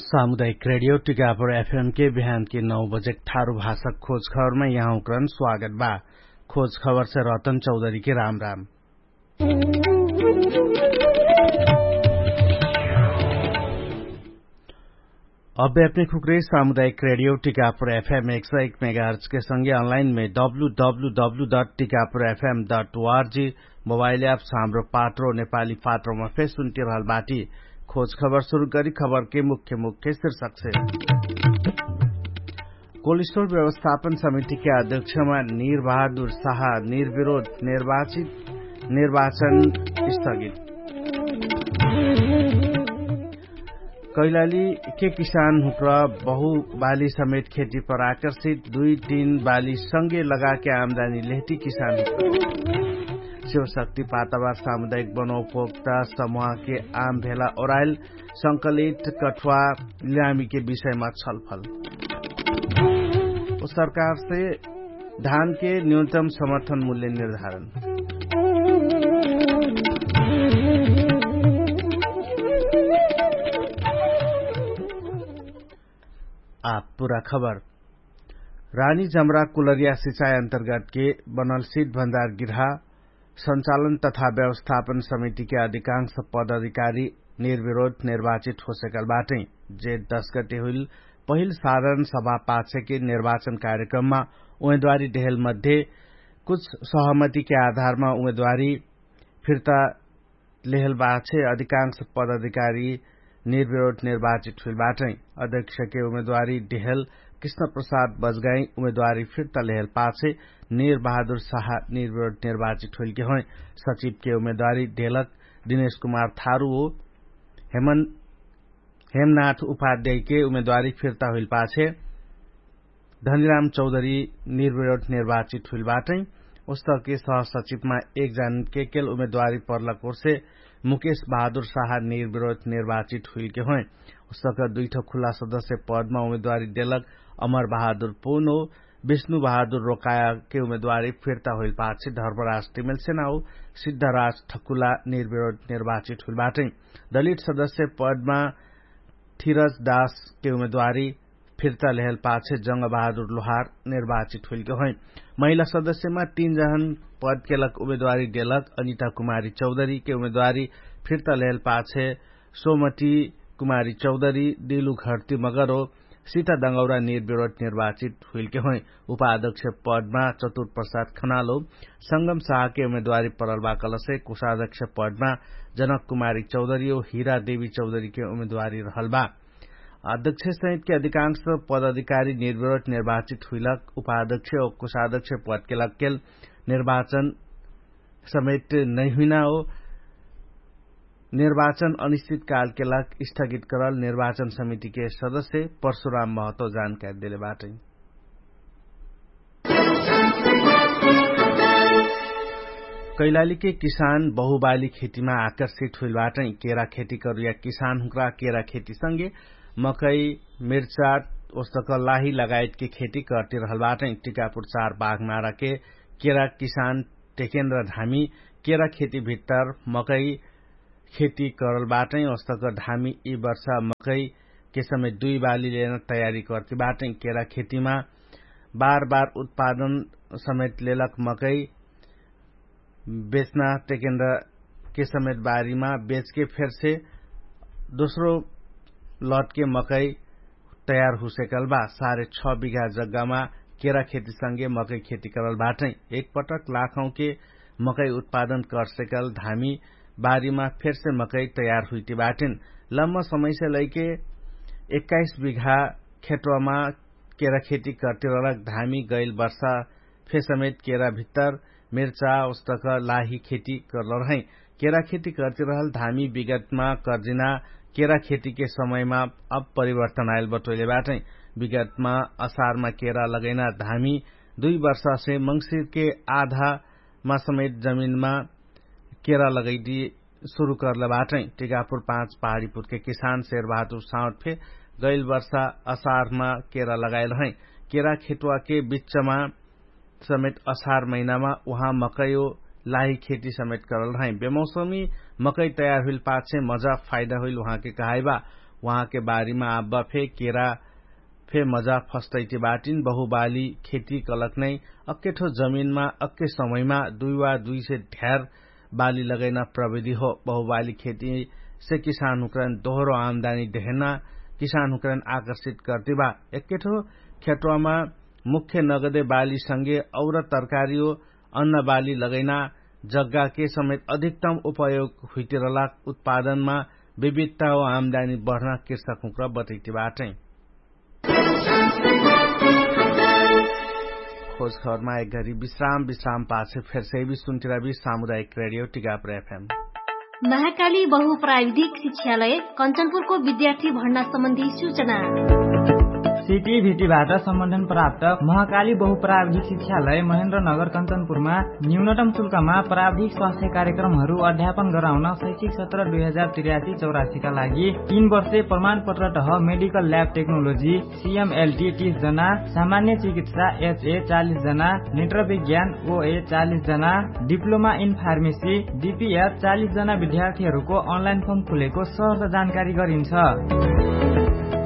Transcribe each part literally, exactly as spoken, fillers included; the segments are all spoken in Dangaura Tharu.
सामुदायिक रेडियो टिकापुर एफएम के बिहान के नौ बजेक थारु भाषक खोज खबरमा यहाँ उक्रन स्वागत बा। खोज खबर से रतन चौधरी के राम राम। अब्बे अपने खुक्रे सामुदायिक रेडियो टिकापुर एफएम एक सौ एक मेगाहर्च के संगे अनलाइन में W W W dot Tikapur FM dot ORG mobile app Hamro Patro Nepali पात्रोमा फेर सुन्टिरहल बाटी। खोज खबर सुरु गरी खबर के मुख्य मुख्य शिर्षक से। कोलिस्टोर व्यवस्थापन समिति के अध्यक्षमा निर्बहादुर साहा निर्विरोध निर्वाचित निर्वाचन स्थगित। कैलाली के किसान हुक्र बहु बाली समेत खेती पर आकर्षित दुई तीन बाली संगे लगाके आमदानी लेहती किसान हुक्र। शिवशक्ति पातावार सामुदायिक बनोपभोक्ता समुहा के आम भेला ओराइल संकलित कठुवा ल्यामी के विषयमा छलफल। ओ सरकार से धान के न्यूनतम समर्थन मूल्य निर्धारण। आप पुरा खबर। रानी जमरा कुलरिया सिचाइ अन्तर्गत के बनल सिट भण्डार गिर्हा सञ्चालन तथा व्यवस्थापन समिति के अधिकांश पदाधिकारी निर्विरोध निर्वाचित होसेकल बाटै। जे दस गटे हुइल पहिल साधारण सभा पाछे के निर्वाचन कार्यक्रममा उमेदवारी देहल मध्ये कुछ सहमति के आधारमा उमेदवारी फिर्ता लेहल बाछे अधिकांश पदाधिकारी निर्विरोध निर्वाचित हुइल बाटै। अध्यक्ष के उमेदवारी देहल कृष्ण प्रसाद बजगाई उमेदवारी फिर्ता लेहल पाछे निर्बहादुर साहा निर्विरोध निर्वाचित हुइल के होइ। सचिव के उमेदवारी देहलक दिनेश कुमार थारु हो। हेमन हेमनाथ उपाध्याय के उमेदवारी फिर्ता हुइल पाछे धनिराम चौधरी निर्विरोध निर्वाचित हुइल बाटै। उस्तके सहसचिवमा एक जान के केल उमेदवारी पर्लक ओर्से मुकेश बहादुर साहा निर्विरोध निर्वाचित हुइल के होइ। उस्तके दुइठो खुला सदस्य पदमा उमेदवारी देलक अमर बहादुर पुन हो। विष्णु बहादुर रोकाया के उमेदवारी फिर्ता हुइल पाछे धर्मराज तिमेल सेना हो सिद्धराज ठकुला निर्विरोध निर्वाचित हुइल बाटै। दलित सदस्य पदमा थिरज दास के उमेदवारी फिर्ता लेहल पाछे जंग बहादुर लोहार निर्वाचित हुइल के होइ। महिला सदस्यमा तीन जहन पद केलक उमेदवारी देलक अनिता कुमारी चौधरी के उमेदवारी फिर्ता लेहल पाछे सोमती कुमारी चौधरी दिलु घरती मगर हो सिता दंगौरा निर्विरोध निर्वाचित हुइल के होइ। उपाध्यक्ष पदमा चतुर प्रसाद खनालो संगम साह के उमेदवारी परल बा कलसे कुशाध्यक्ष पदमा जनक कुमारी चौधरी हो हिरा देवी चौधरी के उमेदवारी रहल बा। अध्यक्ष सहित के अधिकांश पदाधिकारी निर्विरोध निर्वाचित हुइलक उपाध्यक्ष हो कुशाध्यक्ष पद केलक केल निर्वाचन समेत नैहुइना हो। निर्वाचन अनिश्चित काल केलक स्थगित करल निर्वाचन समिति के सदस्य परशुराम महतो जानकारी देले बाटै। कैलाली के किसान बहुबाली खेतीमा आकर्षित हुइल बाटै। केरा खेती करुया किसान हुक्रा केरा खेती संगे मकै मिर्चा ओस्तक लाही लगायत के खेती करती रहल बाटै। टिकापुर चार बाघमारा के केरा किसान टेकेन्द्र धामी केरा खेती भित्तर मकै खेती करल बाटै। ओस्तक धामी यि वर्ष मकै के समेत दुई बाली लेन तयारी करती बाटै। केरा खेतीमा बार बार उत्पादन समेत लेलक मकै बेच्ना टेकेन्द्र के समेत बारीमा बेचके फेरसे दोस्रो लटके मकै तयार हुसेकल बा। सारे छ बिघा जग्गामा केरा खेती संगे मकै खेती करल बाटै। एक पटक लाखौं के मकै उत्पादन करसेकल धामी बारीमा फेरसे मकै तयार हुइटी बाटिन। लम्म समयसे लैके एक्काइस बिघा खेतवामा केरा खेती करती रहलक धामी गैल वर्षा फेसमेत केरा भित्तर मिर्चा ओस्तक लाही खेती करल रहै। केरा खेती करती रहल धामी विगतमा कर्जिना केरा खेती के समयमा अब परिवर्तन आयल बटोइले बाटै। विगतमा असारमा केरा लगैना धामी दुई वर्षासे मंगसिरके आधामा समेत जमिनमा केरा लगैदी सुरु करले बाटै। टिकापुर पाँच पहाडीपुरके किसान शेरबहादुर साउट फे गैल वर्षा असारमा केरा लगायल है। केरा खेतवाके बिच्चमा समेत असार महिनामा उहाँ मकैयो लाही खेती समेत करल रहै। बेमौसमी मकै तयार हुइल पाछे मजा फाइदा हुइल उहाँके कहाइबा। उहाँके बारीमा आब्बा फे केरा फे मजा फस्तैति बाटिन। बहुबाली खेती कलक नै अक्केठो जमिनमा अक्के समयमा दुई वा दुई से ढ्यार बाली लगैना प्रविधि हो। बहुबाली खेती से किसान हुँकरन दोहरो आमदानी देहना किसान हुँकरन आकर्षित कर्तिबा। एक्केठो खेटवामा मुख्य नगदे बाली संगे और तरकारीओ अन्न बाली लगैना जग्गाके समेत अधिकतम उपयोग हुइतिरला उत्पादनमा विविधता वा आमदानी बढ्ना किर्सक हुँक्र बतैतिबाटै। खोज खबरमा एक घरी विश्राम विश्राम पाछे फेर सैबी सुन्तिराबी सामुदायिक रेडियो टिकापुर एफएम। महाकाली बहु प्राविधिक शिक्षालय कञ्चनपुरको विद्यार्थी भर्ना सम्बन्धी सूचना। सिटी भिटीबाट सम्बन्धन प्राप्त महाकाली बहु प्राविधिक शिक्षालय महेन्द्र नगर कञ्चनपुरमा न्यूनतम शुल्कमा प्राविधिक स्वास्थ्य कार्यक्रमहरू अध्यापन गराउन शैक्षिक सत्र दुई हजार त्रियासी चौरासीका लागि तीन वर्षे प्रमाणपत्र तह मेडिकल ल्याब टेक्नोलोजी सिएमएलटी तीस जना, सामान्य चिकित्सा एचए चालिस जना, नेत्र विज्ञान ओए चालिस जना, डिप्लोमा इन फार्मेसी डिपिएफ चालिस जना विद्यार्थीहरूको अनलाइन फर्म खुलेको सहर्ष जानकारी गरिन्छ।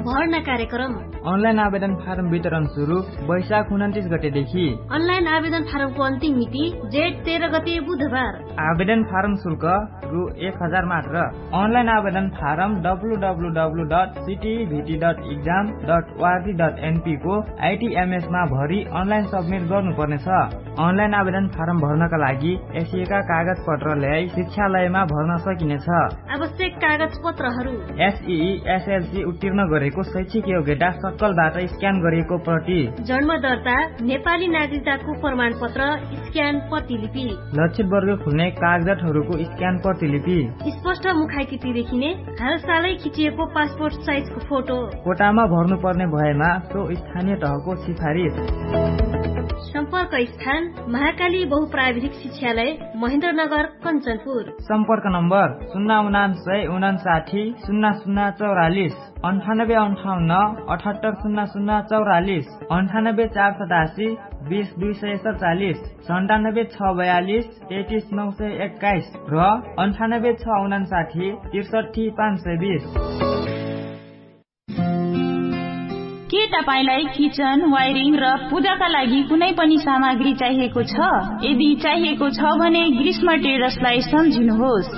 भर्ना कार्यक्रम। अनलाइन आवेदन फारम वितरण सुरु वैशाख उन्तिस गतेदेखि। अनलाइन आवेदन फारमको अन्तिम मिति जेठ तेह्र गते बुधबार। आवेदन फारम शुल्क रु एक हजार मात्र। अनलाइन आवेदन फारम डब्लुडब्लुडब्लु डट सिटिभिटी डट इक्जाम डट ओआरजी डट एनपीको आइटिएमएसमा भरि अनलाइन सब्मिट गर्नुपर्नेछ। अनलाइन आवेदन फारम भर्नका लागि एसिएका कागजपत्र ल्याई शिक्षालयमा भर्न सकिनेछ। आवश्यक कागजपत्रहरू। एसई एसएलसी उत्तीर्ण गरेको शैक्षिक योग्यता सक्कलबाट स्क्यान गरिएको प्रति। जन्म दर्ता, नेपाली नागरिकताको प्रमाणपत्र, स्क्यान प्रतिलिपि। लक्षित वर्ग खुल्ने कागजातहरूको स्क्यान प्रतिलिपि। स्पष्ट मुखाइकिति देखिने हालसालै खिचिएको पासपोर्ट साइजको फोटो। कोटामा भर्नुपर्ने भएमा सो स्थानीय तहको सिफारिस। सम्पर्क स्थान महाकाली बहुप्राविधिक शिक्षालय महेन्द्रनगर कञ्चनपुर। सम्पर्क नम्बर सुन्ना उनान्सय उनान्साठी सुन्ना सुन्ना चौरालिस। अन्ठानब्बे अन्ठाउन्न अठहत्तर सुन्ना सुन्ना चौरालिस। अन्ठानब्बे चार सतासी बिस दुई सय सतचालिस। सन्तानब्बे छ बयालिस तेतिस नौ सय एक्काइस र अन्ठानब्बे छ उनान्साठी त्रिसठी पाँच सय बिस। के तपाईंलाई किचन वायरिङ र पूजाका लागि कुनै पनि सामग्री चाहिएको छ? यदि चाहिएको छ भने ग्रीष्म ट्रेडर्सलाई सम्झिनुहोस्।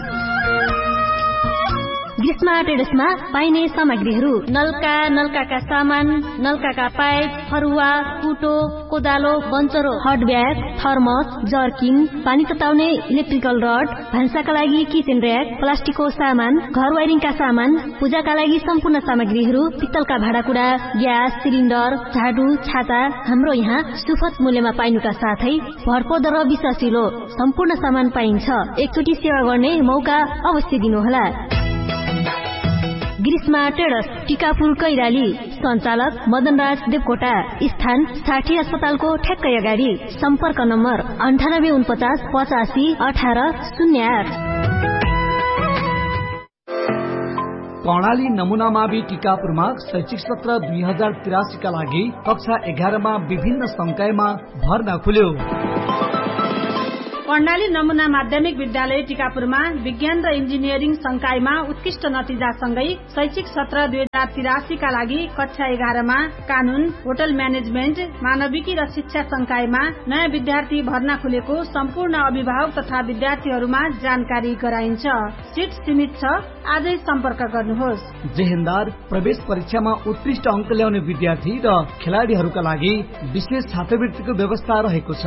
ग्रीष्म ट्रेडर्समा पाइने सामग्रीहरू नल्का नल्काका सामान, नल्काका पाइप, फरुवा, कुटो, कोदालो, बन्चरो, हट ब्याग, थर्मस, जर्किन, पानी तताउने इलेक्ट्रिकल रड, भान्साका लागि किचेन र्याक, प्लास्टिकको सामान, घर वाइरिङका सामान, पूजाका लागि सम्पूर्ण सामग्रीहरू, पित्तलका भाँडाकुडा, ग्यास सिलिन्डर, झाडु, छाता, हाम्रो यहाँ सुफत मूल्यमा पाइनुका साथै भरपर्दो र विश्वासिलो सम्पूर्ण सामान पाइन्छ। एकचोटि सेवा गर्ने मौका अवश्य दिनुहोला। ग्रीष्मा ट्रेडर्स, टिकापुर कैराली। सञ्चालक मदनराज देवकोटा। स्थान साठी अस्पतालको ठ्याक्कै अगाडि। सम्पर्क नम्बर अन्ठानब्बे उनपचास पचासी अठार शून्य आठ। कर्णाली नमुना मावि टिकापुरमा शैक्षिक सत्र दुई हजार तिरासीका लागि कक्षा एघारमा विभिन्न संकायमा भर्ना खुल्यो। कर्णाली नमुना माध्यमिक विद्यालय टिकापुरमा विज्ञान र इन्जिनियरिङ संकायमा उत्कृष्ट नतिजासँगै शैक्षिक सत्र दुई हजार तिरासीका लागि कक्षा एघारमा कानुन, होटल म्यानेजमेन्ट, मानविकी र शिक्षा संकायमा नयाँ विद्यार्थी भर्ना खुलेको सम्पूर्ण अभिभावक तथा विद्यार्थीहरूमा जानकारी गराइन्छ। सिट सीमित छ। आजै सम्पर्क गर्नुहोस्। जेहेन्दार प्रवेश परीक्षामा उत्कृष्ट अङ्क ल्याउने विद्यार्थी र खेलाडीहरूका लागि विशेष छात्रवृत्तिको व्यवस्था रहेको छ।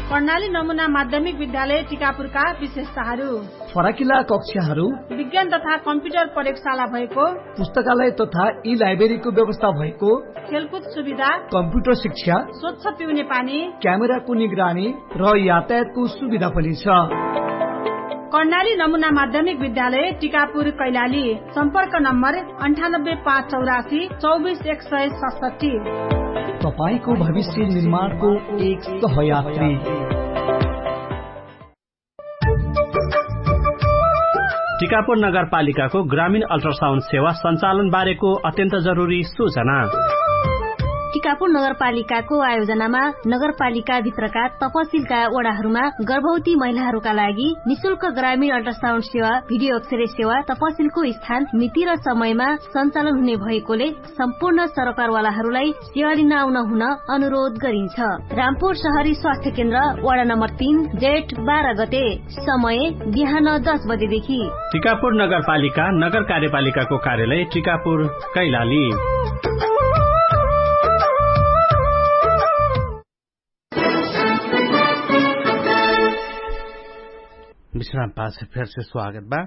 कर्णाली नमुना माध्यमिक विद्यालय टिकापुरका विशेषताहरू। फराकिला कक्षाहरू। विज्ञान तथा कम्प्युटर प्रयोगशाला भएको। पुस्तकालय तथा ई लाइब्रेरीको व्यवस्था भएको। खेलकुद सुविधा। कम्प्युटर शिक्षा। स्वच्छ पिउने पानी। क्यामेराको निगरानी र यातायातको सुविधा पनि छ। कर्णाली नमुना माध्यमिक विद्यालय टिकापुर कैलाली। सम्पर्क नम्बर अन्ठानब्बे पाँच चौरासी चौबिस एक सय सतसट्ठी। तपाईंको भविष्य निर्माणको एक सहयात्री। टिकापुर नगरपालिकाको ग्रामीण अल्ट्रासाउन्ड सेवा सञ्चालन बारेको अत्यन्त जरुरी सूचना। टिकापुर नगरपालिकाको आयोजनामा नगरपालिकाभित्रका तपसिलका वडाहरूमा गर्भवती महिलाहरूका लागि निशुल्क ग्रामीण अल्ट्रासाउन्ड सेवा, भिडियो अक्षरे सेवा, तपसिलको स्थान मिति र समयमा सञ्चालन हुने भएकोले सम्पूर्ण सरकारवालाहरूलाई सेवा लिन आउन हुन अनुरोध गरिन्छ। रामपुर सहरी स्वास्थ्य केन्द्र, वडा नम्बर तीन, जेठ बाह्र गते, समय बिहान दस बजेदेखि। टिकापुर नगरपालिका नगर कार्यपालिकाको कार्यालय टिकापुर, कैलाली। विश्राम पाछ फेरसे स्वागत बा।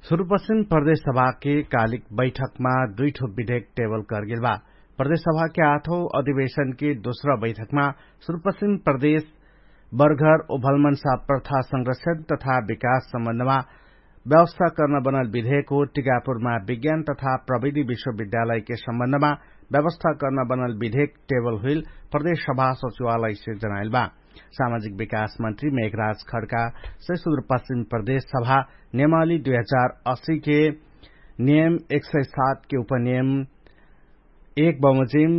सुरुपश्चिम प्रदेश सभाके कालिक बैठकमा दुइठो विधेयक टेबल करगेल बा। प्रदेश सभाके आठौ अधिवेशनके दोस्रा बैठकमा सुरुपश्चिम प्रदेश बर्घर उभलमनसा प्रथा संरक्षण तथा विकास सम्बन्धमा व्यवस्था कर्न बनल विधेयक हो। टिकापुरमा विज्ञान तथा प्रविधि विश्वविद्यालयके सम्बन्धमा व्यवस्था कर्न बनल विधेयक टेबल हुइल प्रदेश सभा सचिवालयसे जनाइल बा। सामाजिक विकास मन्त्री मेघराज खड्कासे सुदुरपश्चिम प्रदेश सभा नेमाली दुई हजार अस्सीके नियम एक सय सातके उपनियम एक बमोजिम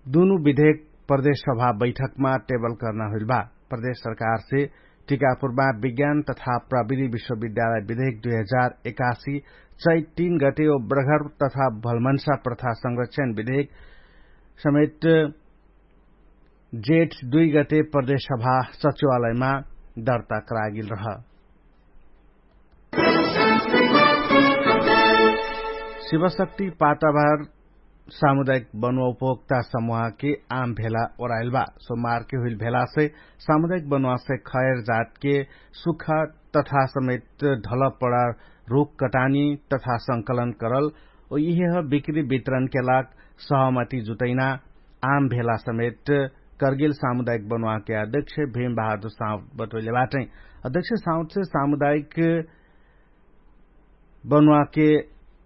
दुनु विधेयक प्रदेश सभा बैठकमा टेबल कर्ना हुइल बा। प्रदेश सरकारसे टिकापुरमा विज्ञान तथा प्रविधि विश्वविद्यालय विधेयक दुई हजार एकासी चैत तीन गटे ओ ब्रघर तथा भलमन्सा प्रथा संरक्षण विधेयक समेत जेठ दुई गते प्रदेश सभा सचिवालयमा दर्ता करागेल रह। शिवशक्ति पाताभार सामुदायिक बनुवा उपभोक्ता समुहाके आम भेला ओराइल बा। सोमारके हुइल भेलासे सामुदायिक बनुवासे खैर जातके सुख तथा समेत ढलपडा रुख कटानी तथा संकलन करल ओ इहेह बिक्री वितरणके लाग सहमति जुटैना आम भेला समेत करगेल सामुदायिक बनुवाके अध्यक्ष भीम बहादुर साउद बटोइले बाटै। अध्यक्ष साउदसे सामुदायिक बनुवाके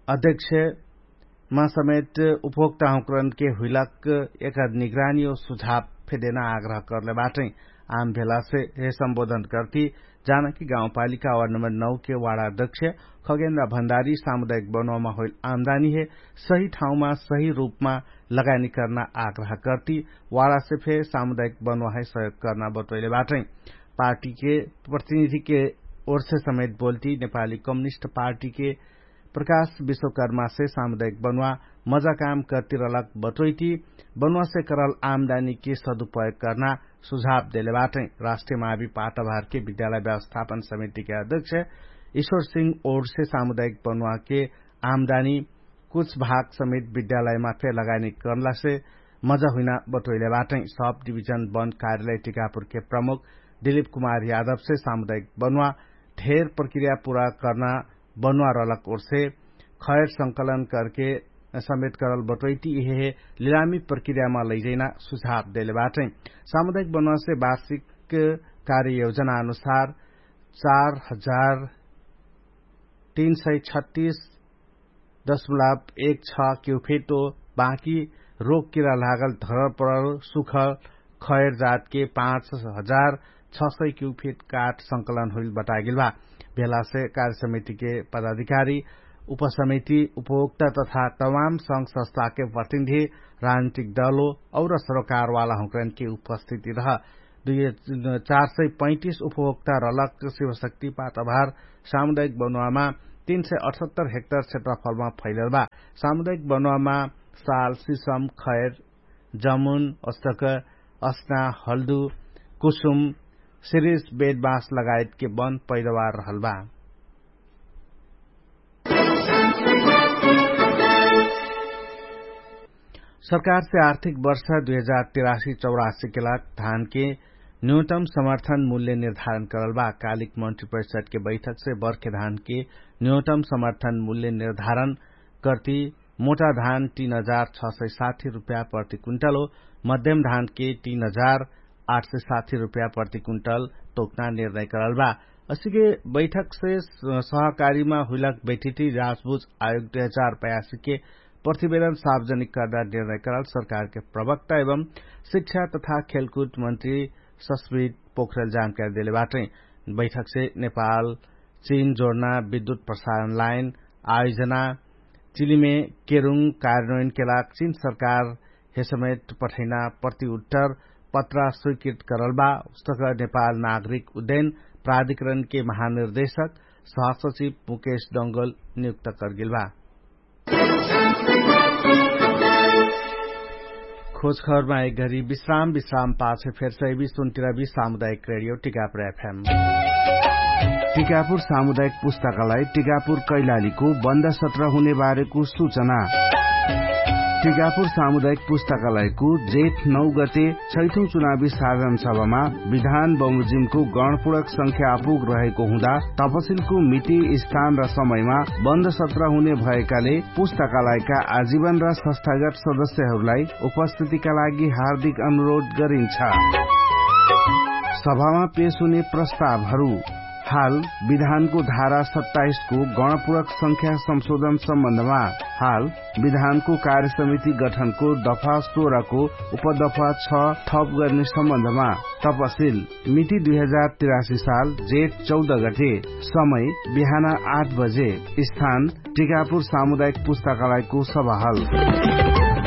अध्यक्षमा समेत उपभोक्ताहुँकरणके हुइलाक एकर निगरानी ओ सुझाव फेदेना आग्रह करले बाटै। आम भेलासे हे सम्बोधन कर्ती जानकी गाउँपालिका वार्ड नम्बर नौके वाडा अध्यक्ष खगेन्द्र भण्डारी सामुदायिक बनुवामा होइल आमदानीहे सही ठाउँमा सही रुपमा लगानी कर्ना आग्रह कर्ती वाडासे फे सामुदायिक बनुवाहे सहयोग कर्ना बतोइले बाटै। पार्टीके प्रतिनिधिके ओर्से समेत बोल्ती नेपाली कम्युनिस्ट पार्टीके प्रकाश विश्वकर्मासे सामुदायिक बनुवा मजा काम कर्ती रहलक बटोइती बनुवासे करल आमदानीके सदुपयोग कर्ना सुझाव देले बाटै। राष्ट्रिय मावी पाताभारके विद्यालय व्यवस्थापन समितिके अध्यक्ष ईश्वर सिंह ओर्से सामुदायिक बनुवाके आमदानी कुछ भाग समेत विद्यालयमा फे लगानी कर्लासे मजा हुइना बटोइले बाटै। सब डिभिजन बन्द कार्यालय टिकापुरके प्रमुख दिलिप कुमार यादवसे सामुदायिक बनुवा धेर प्रक्रिया पुरा कर्ना बनुवा रहलक ओर्से खैर संकलन करके समेत करल बटोइती इहे लिलामी प्रक्रियामा लैजैना सुझाव देले बाटै। सामुदायिक बनुवासे वार्षिक कार्ययोजना अनुसार चार हजार तीन सय छत्तीस दशमलव एक छ क्युफिट ओ बाँकी रोग किरा लागल धरपरल सुखल खैर जातके पाँच हजार छ सय क्युफिट काठ संकलन हुइल बतागेल बा। भेलासे कार्यसमितिके पदाधिकारी उपसमिति उपभोक्ता तथा तमाम संघ संस्थाके प्रतिनिधि राजनीतिक दलो और सरोकारवाला हुँकरनके उपस्थिति रह। दुई चार सय पैँतिस उपभोक्ता रलक शिवशक्ति पातभार सामुदायिक बनुवामा तीन सय अठहत्तर हेक्टर क्षेत्रफलमा फैलल बा। सामुदायिक बनुवामा साल सिसम खैर जमुन अस्तक अस्ना हल्दु कुसुम सिरिस बेदबाँस लगायतके बन पैदावार रहल बा। सरकारसे आर्थिक वर्ष दुई हजार तिरासी चौरासी के लाग धानके न्यूनतम समर्थन मूल्य निर्धारण करल बा। कालिक मन्त्री परिषदके बैठकसे बर्खे धानके न्यूनतम समर्थन मूल्य निर्धारण कर्ती मोटा धान तीन हजार छ सय साठी रुपया प्रति कुन्टल हो। मध्यम धानके तीन हजार आठ सय साठी रुपया प्रति कुन्टल तोक्ना निर्णय करल बा। असिके बैठकसे सहकारीमा हुइलक बैठिटी राजबुझ आयोग दुई हजार पयासीके प्रतिवेदन सार्वजनिक कर्दा निर्णय करल सरकारके प्रवक्ता एवं शिक्षा तथा खेलकुद मन्त्री सस्मित पोखरेल जानकारी देले बाटै। बैठकसे नेपाल चिन जोडना विद्युत प्रसारण लाइन आयोजना चिलिमे केरुङ कार्यान्वयनके लाग चिन सरकार हे समेत पठैना प्रति उत्तर पत्रा स्वीकृत करल बा। उस्तक नेपाल नागरिक उद्यन प्राधिकरणके महानिर्देशक सहसचिव मुकेश डंगल नियुक्त करगेल बा। खोजखबरमा एक घरी विश्राम विश्राम पाछे फेर सैबी सुन्तिरबी सामुदायिक रेडियो टिकापुर एफएम। टिकापुर सामुदायिक पुस्तकालय टिकापुर कैलालीको बन्द सत्र हुने बारेको सुचना। टिकापुर सामुदायिक पुस्तकालयको जेठ नौ गते छैठौं चुनावी साधन सभामा विधान बमोजिमको गणपुरक संख्या आपुग रहेको हुँदा तपसिलको मिति स्थान र समयमा बन्द सत्र हुने भएकाले पुस्तकालयका आजीवन र संस्थागत सदस्यहरूलाई उपस्थितिका लागि हार्दिक अनुरोध गरिन्छ। सभामा पेश हुने प्रस्तावहरू। हाल विधानको धारा सत्ताइसको गणपुरक संख्या संशोधन सम्बन्धमा हाल विधानको कार्यसमिति गठनको दफा सोह्रको उपदफा छ थप गर्ने सम्बन्धमा तपसिल मिति दुई हजार तिरासी साल जेठ चौध गते समय बिहान आठ बजे स्थान टिकापुर सामुदायिक पुस्तकालयको सभाहल।